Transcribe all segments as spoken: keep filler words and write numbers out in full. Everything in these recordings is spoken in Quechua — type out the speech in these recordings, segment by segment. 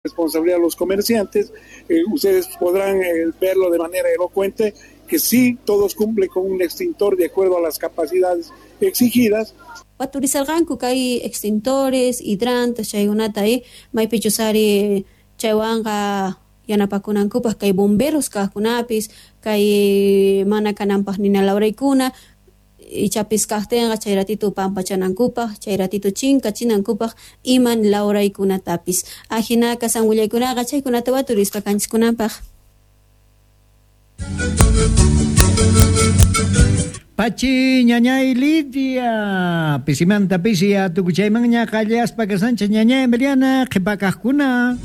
Responsabilidad a los comerciantes. Eh, ustedes podrán eh, verlo de manera elocuente que sí todos cumplen con un extintor de acuerdo a las capacidades exigidas. Waturisarqanku kay extintores, hidrantes chaykunata eh, maypichus ari chaywanqa yanapakunankupaq kay bomberos kaqkunapis kay mana kananpaq nina lawraykuna ichapis kaqtinqa chay ratito pampachanankupaq chay ratito chinkachinankupaq iman lawraykunatapis ajinaqa san willaykunaqa chaykunata waturispa kanchiskunanpaq. Pachi ñañay Lidia, pisimanta pisi atukuchaymanña qallaspa kasancha ñañay Emiliana qhipakaqkuna.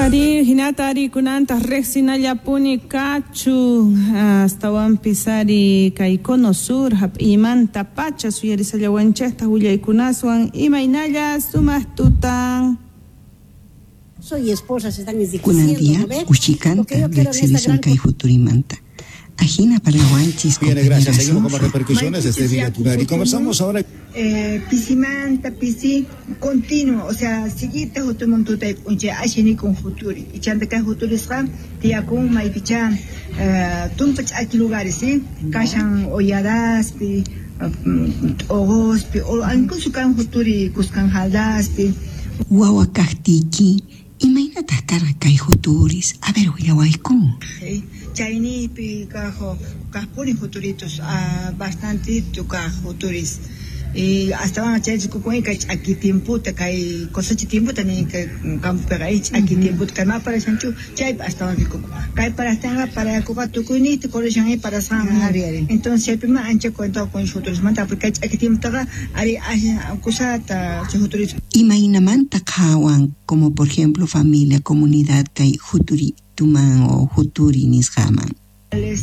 Ari hinata ari kunanta riqsinallapuni kachun astawanpis ari kay cono sur hap'imanta pacha suyarisallawanchikta willaykunaswan imaynalla sumaq tutan. Soy esposa, se están Kunan enriqueciendo, día ¿no ve? Lo ushikanta que yo quiero en esta riqsirisun gran kay futurimanta. Ajina parlawanchis Bien, gracias. Seguimos con más compañerazo. repercusiones. Este es Villa Tunari. Conversamos ahora. Eh, pisimanta pisi continuo, o sea, siguita hutumuntuta unche ashini con futuri. Y chanta kay futurisqa tiyakun maypicha eh, tumpa ch'aki lugares, ¿sí? Kashan olladaspi, t'uquspi, o incluso kan futuri kuskan jaldaspi. Wawa kaqtiyki imaynataq karqa kay futuris? A ver, willawayku. Eh, Chaynipi kajo kaqpuni futuritos, ah, bastantito kaq futuris. Y hasta van a chay kukun kay ch'aki tiemputa kay cosecha tiemputa ni kay campopiqa y ch'aki tiemputa kay ma parashanchu chaypi astawan rikukun kay parastinqa parayakuqa tukuyniyta corrishan y parasqanman Ari, ari. Entonces chaypi ma ancha cuento con futurismanta porque kay ch'aki tiemputaqa ari asha kusata chay futuris. Imaynamanta qhawan como por ejemplo familia, comunidad kay futurituman o futuri nisqaman.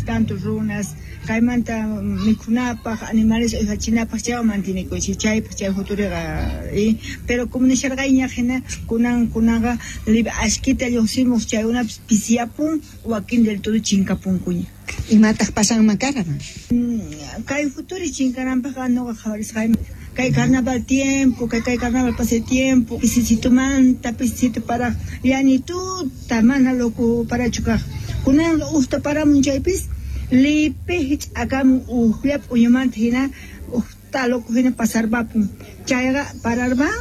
Tanto runas kaymanta mikhunapaq animales uywachinapaq chaywan mantinekunchik chaypaq chay futuriqa y pero como nisharqayña hina kunan kunanqa libre ashkita lluqsimuq chaykunapis pisiyapun wakin del todo chinkapunkuña. Imataq pasanman karqa? Kay futuri chinkananpaqqa nuqa qhawarisqayman kay carnaval tiempo kay kay carnaval pase tiempo pisisitumanta pisisito para llanituta mana loco parachu kaq kunanqa uqta paramun chaypis lipi hich'akamun uqllap uñumanta hina uqta loco hina pasarpapun chayqa pararpan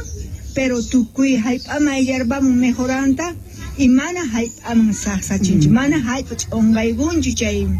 pero tukuy hallp'aman ayllarpamun mejoranta y mana hallp'aman saqsachinchu mana hallp'a ch'unqaykunchu chay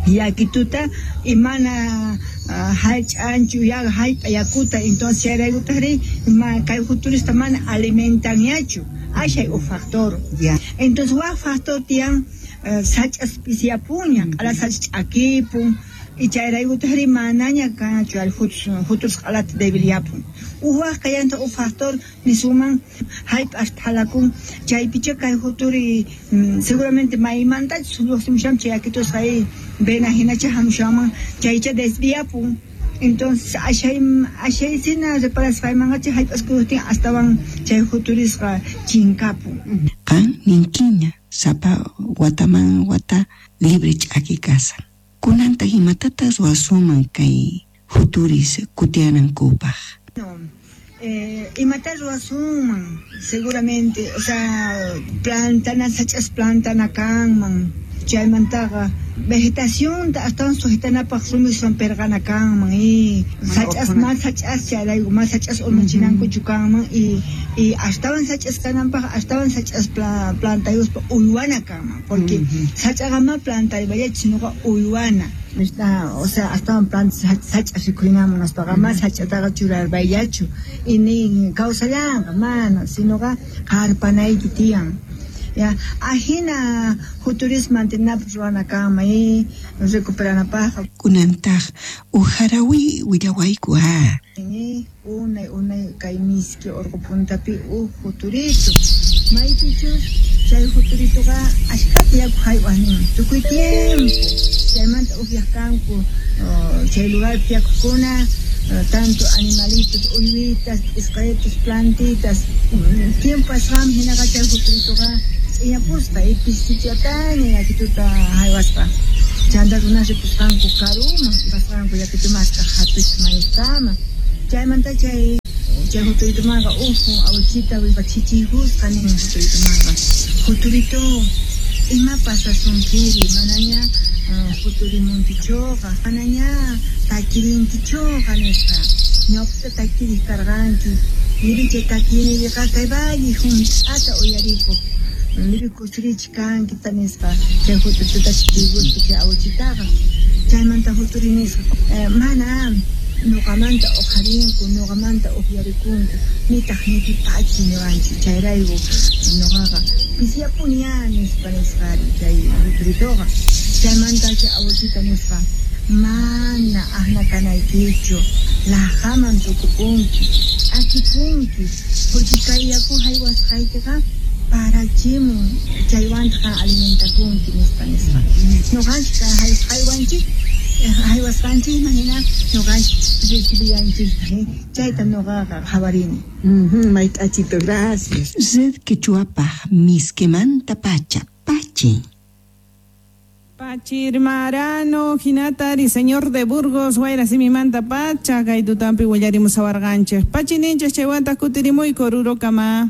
yakituta y mana uh, hallch'anchu ya hallp'a yakuta entonces chayraykutaqri ma kay futurista mana alimentanñachu ashay uq factor. Ya. Entonces wak factor tiyan uh, sach'as pisiyapunña q'ala sach'a ch'akipun y chayraykutaqri manaña kanchu al futurus q'alata debilyapun uq wak kayanta uq factor nisuman hallp'as phalakun chaypicha kay futuri mm, seguramente maymantachus lluqsimushan chay yakitusqa y vena hinacha hamushanman chaycha desviapun. Entonces ashay ashay sina reparasqaymanqa chay hallp'as kuyuqtin astawan chay futurisqa chinkapun. Qan ninkiña sapa wataman wata libre ch'aki kasan. Kunantaq imatataq ruwasunman kay futuris kutianankupaq? No, eh, imata ruwasunman seguramente, o sea, plantana sach'as plantana kanman chaymantaqa vegetación astawan sujetanapaq rumiswan pirqana kanman y sach'as mas sach'as chayrayku mas sach'as urmachinankuchu kanman y y astawan sach'as kananpaq astawan sach'as pla, plantayuspa uywana kanman porque sach'aqa ma plantaypallachu sinoqa uywana. Está, o sea, astawan planta sach'as rikhuynaman nispaqa ma sach'ataqa churarpayllachu y nin kawsallanqa mana sinoqa qarpanayki tiyan. Ya, ajina futuris mantenapaq ruwana kanman y recuperanapaqqa. Kunantaq uq harawi willawayku a. Y unay unay kay miski urqu puntapi uq futurito maypichus chay futuritoqa ashkhata yaku haywaq nin tukuy tiempo chaymanta upyaq kanku uh, chay lugarpi yakukuna uh, tanto animalitos uywitas p'isqaritos plantitas tiempo asqanmi hinaqa chay futuritoqa ch'iñapusqa y pisichataña yakituta haywaspa chanta runas ripusqanku karuman pasqanku yakitu mask'aq hatuchis maykama Chaymanta chay chay huturitumanqa uhu awichita wipachichiykusqa nin huturitumanqa huturito ima pasasunkiri manaña huturimunkichuqa manaña takirinkichuqa nisqa ñawpata takiriq karqanki niri chay takiynipiqa kay valle hunt'ata uyarikuq niri kusirichik kanki nispa chay huturituta chichiykuspa chay awichitaqa chaymanta huturi nisqa mana nuqamanta uqharinku nuqamanta uqyarikunku nitaq nipipachi niwanchik chayrayku nuqaqa pisiyapuni ya nispa nisqari chay huturituqa chaymanta chay awichita nispa mana ahna kanaykichu laqhaman tukupunki ch'akipunki porque kay yaku haywasqaykiqa parachimun chaywantaq alimentakunki nispa nispa nuqanchik haywanchik haywasqanchikman hina nuqanchik recibiyanchikta chayta nuqaqa qhawarini. Mayt'achito, gracias. Red Quechuapaj miskimanta pacha pachi. Pachirmarano, hinatari, señor de Burgos, Wayra simimanta pacha, kay tutampi willarimusawarqanchik. Pachi ninchik chaywantaq kutirimuy korurokama.